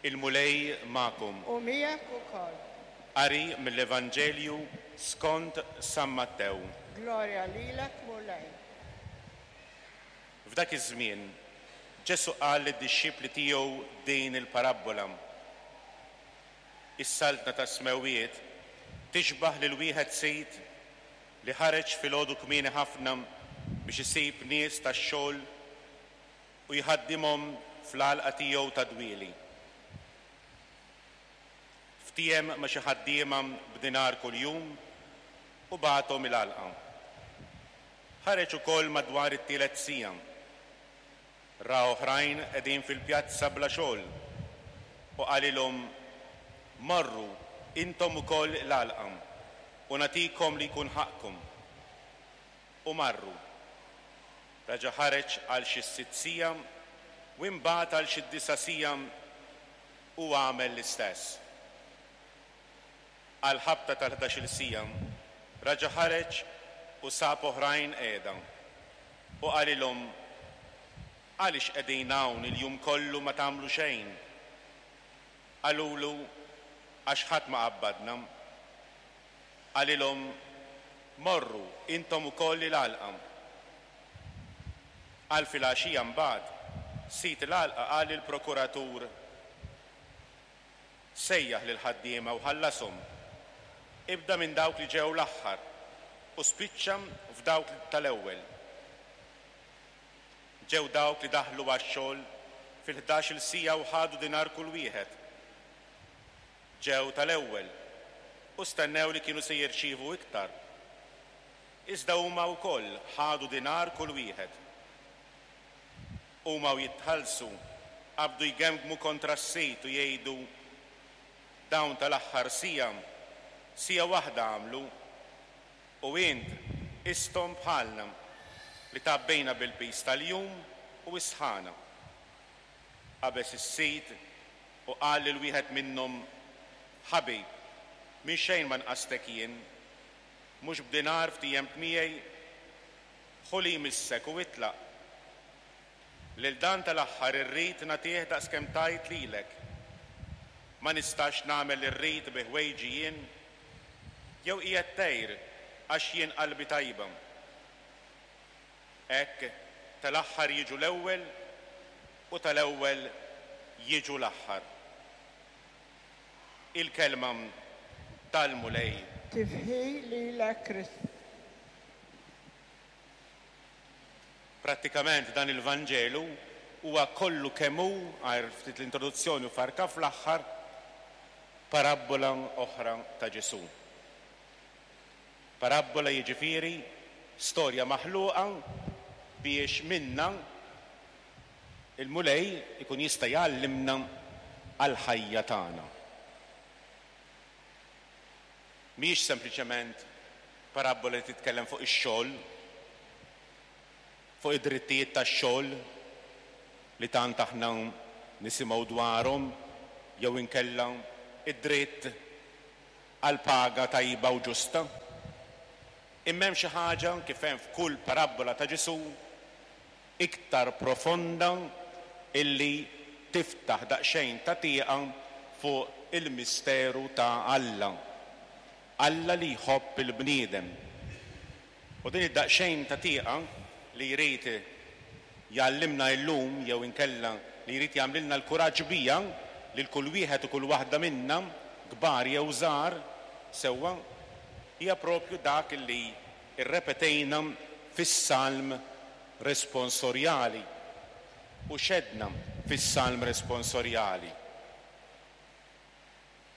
Il-Mulej magħkom. U miegħek ukoll. Qari mill-Evanġelju skont San Mattew. Glorja lilek, Mulej. F'dak iż-żmien, Ġesù qal lid-dixxipli tiegħu din il-parabbola, Is-Saltna tas-Smewwiet tixbah lil wieħed sid li ħareġ filgħodu kmieni ħafna biex isib nies tax-xogħol u jħaddimhom fl-għalqa tiegħu tad-dwieli. Ftiehem ma' xi ħaddiema b'dinar kuljum u bagħathom il-għalqa. Ħareġ ukoll madwar it-tielet siegħa. Ra oħrajn qegħdin fil-pjazza bla xogħol u qalilhom, 'Morru intom ukoll l-għalqa u nagħtikom li jkun ħaqqkom. U marru. Raġa' ħareġ għal xi s-sitt siegħa u imbagħad għal xi d-disa' siegħa u għamel l-istess. Għall-ħabta tal-ħdax-il siegħa raġa' ħareġ u sab oħrajn qiegħda u qalilhom, Għaliex qegħdin hawn il-jum kollu ma tagħmlu xejn? Qalulu, Għax ħadd ma qabbadna. Qalilhom, Morru intom ukoll il-għalqa. Għal filgħaxija mbagħad, sid il-għalqa qal lill-prokuratur, Sejjaħ lill-ħaddiema u ħallashom. Ibda minn dawk li ġew l-aħħar u spiċċa f'dawk tal-ewwel. Ġew dawk li daħlu għax-xogħol fil-ħdax-il siegħa u ħadu dinar kull wieħed. Ġew tal-ewwel u stennew li kienu se jirċievu iktar. Iżda huma wkoll ħadu dinar kull wieħed. Huma u jitħallsu, qabdu jgemgmu kontra s-sid u jgħidu, Dawn tal-aħħar siegħa, siegħa waħda għamlu, u int qisthom bħalna, li tgħabbejna bil-piż tal-jum u s-sħana. Qabeż is-sid u qal lil wieħed minnhom, Ħabib, minn xejn ma nqastek jien. Mhux b'dinar ftiehemt miegħi? Ħu li jmissek u itlaq. Lil dan tal-aħħar irrid nagħtih daqskemm tajt lilek. Ma nistax nagħmel li rrid bi ħwejġi jien? Jew qiegħed tgħir għax jien qalbi tajba? Hekk tal-aħħar jiġu l-ewwel u tal-ewwel jiġu l-aħħar. Il-Kelma tal-Mulej. Tifħir lilek Kristu. Prattikament dan il-Vanġelu huwa kollu kemm hu, għajr ftit l-introduzzjoni u farka fl-aħħar, parabbola oħra ta' Ġesù. Parabbola jiġifieri storja maħluqa biex minnha l-Mulej ikun jista' jgħallimna għall-ħajja tagħna. Mhijiex sempliċement parabbola li titkellem fuq ix-xogħol, fuq id-drittijiet tax-xogħol li tant aħna nisimgħu dwarhom jew inkella d-dritt għal paga tajba u ġusta. Imma hemm xi ħaġa, kif hemm f'kull parabbola ta' Ġesù, iktar profonda illi tiftaħ daqsxejn ta' tieqa fuq il-misteru ta' Alla. Alla li jħobb il-bniedem. U din id-daqsxejn ta' tieqa li jrid jgħallimna illum jew inkella li jrid jagħmlilna l-kuraġġ biha lil kull wieħed u kull waħda minna, kbar jew żgħar, sewwa, hija proprju dak li rrepetejna fis-Salm responsorjali u x'għedna fis-Salm responsorjali.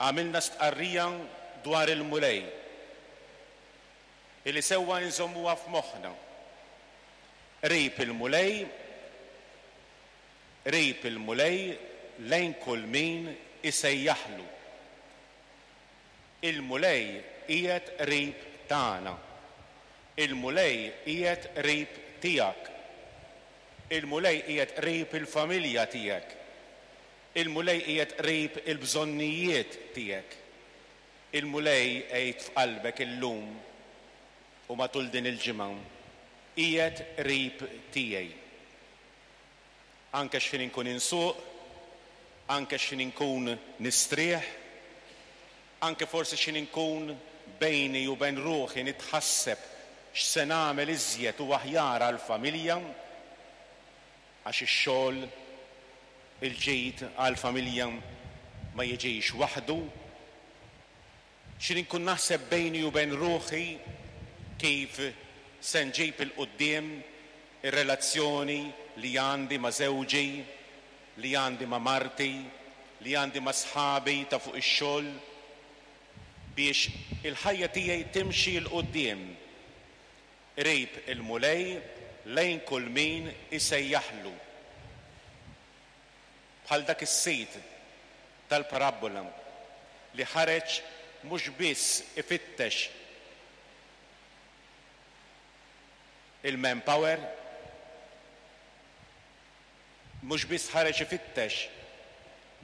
Għamilna stqarrija dwar il-Mulej, illi sewwa inżommuha f'moħħna. Qrib il-Mulej, qrib il-Mulej lejn kull min isejjaħlu. Il-Mulej qiegħed qrib tagħna. Il-Mulej qiegħed qrib tiegħek. Il-Mulej qiegħed qrib il-familja tiegħek. Il-Mulej qiegħed qrib il-bżonnijiet tiegħek. Il-Mulej, għid f'qalbek illum u matul din il-ġimgħa, qiegħed qrib tiegħi. Anke x'ħin inkun insuq, Anke x'ħin inkun nistrieħ, anke forsi x'ħin inkun bejni u bejn ruħi nitħasseb x'se nagħmel iżjed u aħjar għall-familja, għax ix-xogħol, il-ġid għall-familja ma jiġix waħdu. X'ħin inkun naħseb bejni u bejn ruħi kif se nġib 'il quddiem ir-relazzjoni li għandi ma' żewġi, li għandi ma' marti, li għandi ma' sħabi ta' fuq ix-xogħol, biex il-ħajja tiegħi timxi 'l quddiem qrib il-Mulej lejn kull min isejjaħlu. Bħal dak is-sid tal-parabbola li ħareġ mhux biss ifittex il-manpower, mhux biss ħareġ ifittex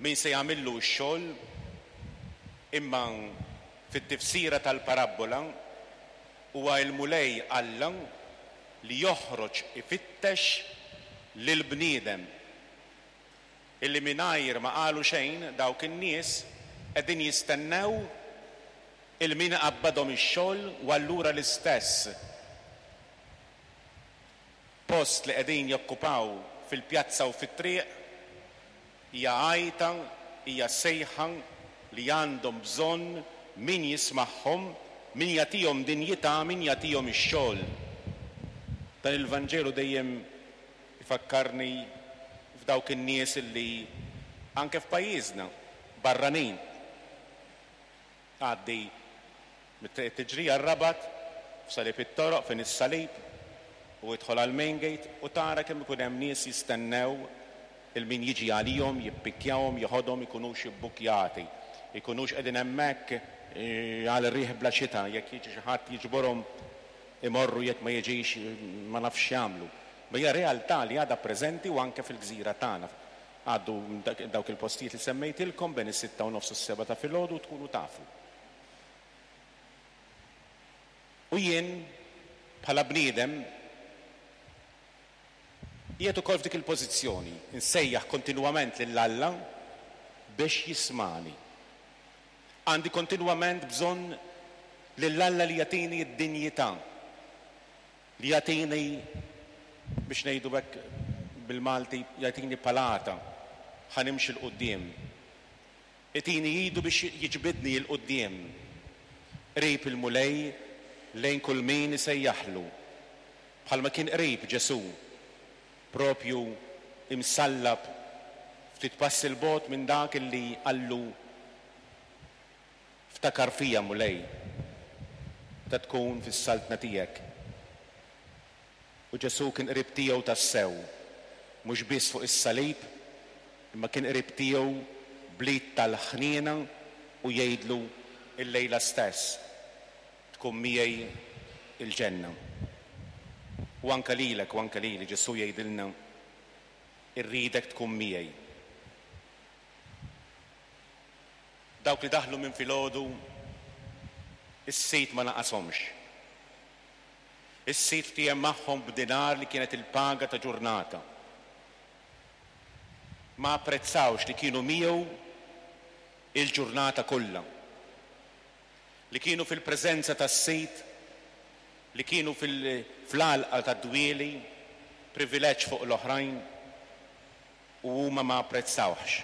min se jagħmillu x-xogħol, imma fit-tifsira tal-parabbola huwa l-Mulej Alla li joħroġ ifittex lill-bniedem illi mingħajr ma qalu xejn dawk in-nies qegħdin jistennew 'il min iqabbadhom ix-xogħol u allura l-istess post li qegħdin jokkupaw fil-pjazza u fit-triq hija għajta, hija sejħa li għandhom bżonn min jismagħhom, min jagħtihom dinjità, min jagħtihom ix-xogħol. Dan il-Vanġelu dejjem ifakkarni f'dawk in-nies li anke f'pajjiżna, barranin, Tgħaddi mit-Triq it-Tiġrija r-Rabat, f'Salib it-Toroq fejn is-Salib, u idħol għall-Main Gate u tara kemm ikun hemm nies jistennew 'il min jiġi għalihom, jippikkjahom, jeħodhom, ikunux ibbukkjati, ikunux qegħdin hemmhekk għal riħ bla xita, jekk jiġi xi ħadd jiġborhom imorru jekk ma jiġix ma nafx x'jagħmlu. Ma hija realtà li għadha preżenti u anke fil-gżira tagħna. Għaddu minn dawk il-postijiet li semmejtilkom bejn is-sitta u nofs u s-sebgħa ta' filgħodu u tkunu tafu. U jien, bħala bniedem, qiegħed ukoll f'dik il-pożizzjoni, insejjaħ kontinwament lil Alla biex jismagħni. Għandi kontinwament bżonn lil Alla li jagħtini d-dinjità. Li jagħtini, biex ngħidu hekk bil-Malti, jagħtini palata ħa nimxi 'l quddiem. Itini idu biex jiġbidni 'l quddiem, qrib il-Mulej lejn kull min isejjaħlu, bħalma kien qrib Ġesù, propju imsallab ftit passi 'l bogħod minn dak illi qallu, Ftakar fija, Mulej, meta tkun fis-saltna tiegħek. U Ġesù kien qrib tiegħu tassew, mhux biss fuq is-salib, imma kien qrib tiegħu bl-id tal-ħniena u jgħidlu, Illejla stess tkun miegħi l-ġenna. U anke lilek u anke lili Ġesù jgħidilna, Irridek tkun miegħi. Dawk li daħlu minn filgħodu, is-sid ma naqashomx. Is-sid ftiehem magħhom b'dinar li kienet il-paga ta' ġurnata. Ma apprezzawx li kienu miegħu il-ġurnata kollha. Li kienu fil-preżenza tas-sid, li kienu fl-għalqa tad-dwieli, privileġġ fuq l-oħrajn, u huma ma apprezzawhx.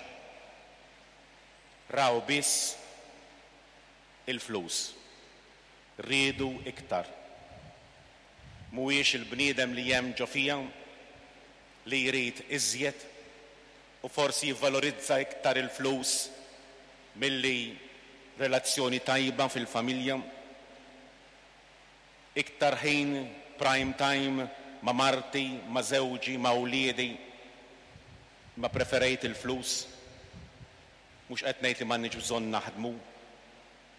Raw biss il-flus. Riedu iktar. Mhuwiex il-bniedem li hemm ġo fija li jrid iżjed u forsi jivvalorizza iktar il-flus milli relazzjoni tajba fil-familja? Iktar ħin prime time ma' marti, ma' żewġi, ma' wliedi. Imma preferejt il-flus. Mhux qed ngħid li m'għandniex bżonn naħdmu.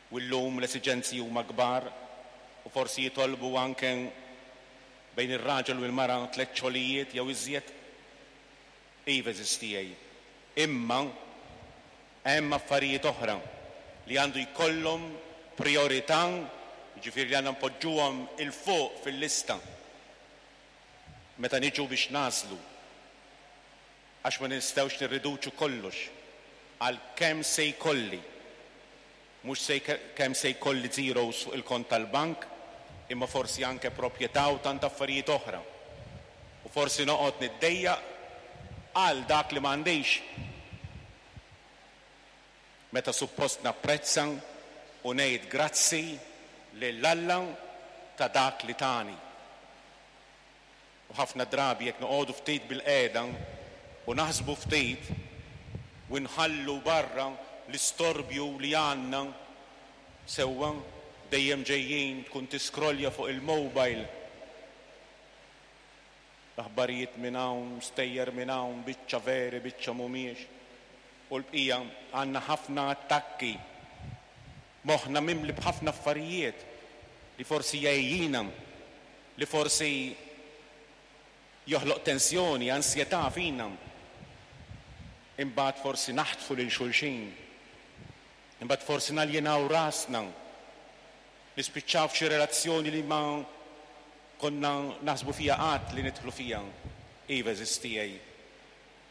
U llum l-esiġenzi huma kbar u forsi jitolbu anke bejn ir-raġel u l-mara tlett xogħlijiet jew iżjed. Iva għeżież tiegħi. Imma hemm affarijiet oħra li għandu jkollhom prijorità, jiġifieri li għandna npoġġuhom 'il fuq fil-lista meta niġu biex nagħżlu. Għax ma nistgħux nirriduċu kollox. għal kemm se jkolli. Mhux se kemm se jkolli zeros fuq il-kont tal-bank, imma forsi anke proprjetà u tant affarijiet oħra. U forsi noqgħod niddejjaq għal dak li m'għandix. Meta suppost napprezza u ngħid grazzi lil Alla ta' dak li tani. U ħafna drabi jekk noqogħdu ftit bilqiegħda u naħsbu ftit u nħallu barra l-istorbju li għandna sewwa dejjem ġejjin tkun tiskrolja fuq il-mobile. Aħbarijiet minn hawn, stejjer minn hawn, biċċa veri, biċċa mhumiex. U l-bqija għandna ħafna attakki. Moħħna mimli b'ħafna affarijiet li forsi jgħejjina, li forsi joħloq tensjoni, ansjetà fina. Imbagħad forsi naħtfu lil xulxin. Imbagħad forsi naljenaw rasna. Nispiċċaw f'xi relazzjoni li ma konna naħsbu fiha qatt li nidħlu fiha. Iva għeżież tiegħi.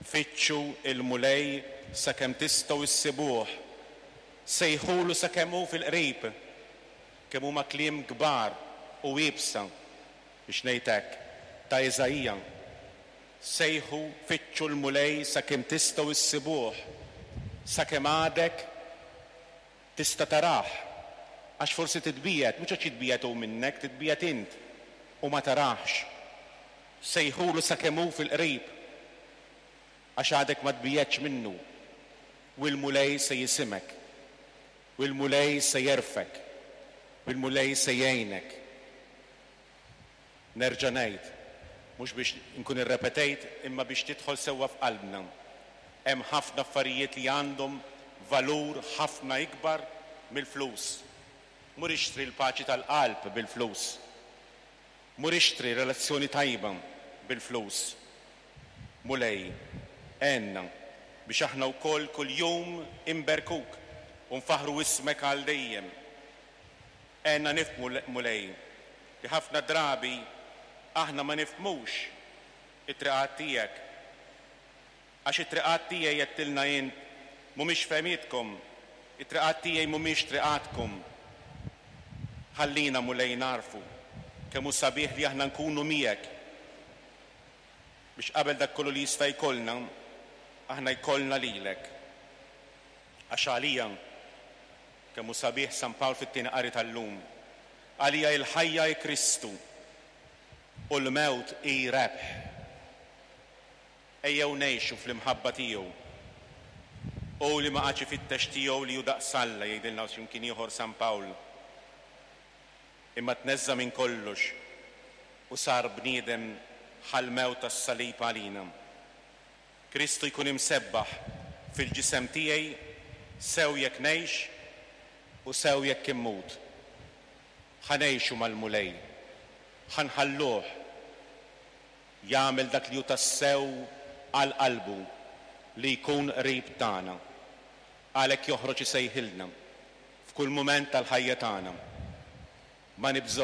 Fittxu l-Mulej sakemm tistgħu issibuh. Sejħulu sakemm hu fil-qrib. Kemm huma kliem kbar u iebsa, biex ngħid hekk, ta' Iżaija. Sejħu, fittxu l-Mulej sakemm tistgħu issibuh, sakemm għadek tista' tarah. Għax forsi titbiegħed, mhux għax jitbiegħed hu minnek, titbiegħed int u ma tarahx. Sejħulu sakemm hu fil-qrib, għax għadek ma tbiegħedtx minnu, u l-Mulej se jisimgħek, u l-Mulej se jerfgħek, u l-Mulej se jgħinek. Nerġa' ngħid, mhux biex inkun irrepetejt imma biex tidħol sewwa f'qalbna, hemm ħafna affarijiet li għandhom valur ħafna ikbar mill-flus. Mur ixtri l-paċi tal-qalb bil-flus. Mur ixtri relazzjoni tajba bil-flus. Mulej, għenna biex aħna wkoll kuljum inberkuk u nfaħħru ismek għal dejjem. Għenna nifhmu, Mulej, li ħafna drabi aħna ma nifhmux it-triqat tiegħek. Għax it-triqat tiegħi għedtilna int mhumiex fehmietkom, it-triqat tiegħi mhumiex triqatkom. Ħallina, Mulej, nagħrfu kemm hu sabiħ li aħna nkunu miegħek biex qabel dak kollu li jista' jkollna, aħna jkollna lilek. Għax għalija, kemm hu sabiħ San Pawl fit-tieni qari tal-lum, għalija il-ħajja hi Kristu u l-mewt hi rebħ. Ejjew ngħixu fl-imħabba tiegħu. Hu li ma qagħadx ifittex tiegħu li hu daqs Alla, jgħidilna xi mkien ieħor San Pawl, imma tneżża' minn kollox u sar bniedem ħall-mewt tas-salib għalina. Kristu jkun imsebbaħ fil-ġisem tiegħi sew jekk ngħix u sew jekk immut. Ħa ngħixu mal-Mulej. Ħa nħalluh jagħmel dak li hu tassew għal qalbu, li jkun qrib tagħna. Għalhekk joħroġ isejħilna f'kull mument tal-ħajja tagħna. Ma nibżgħux.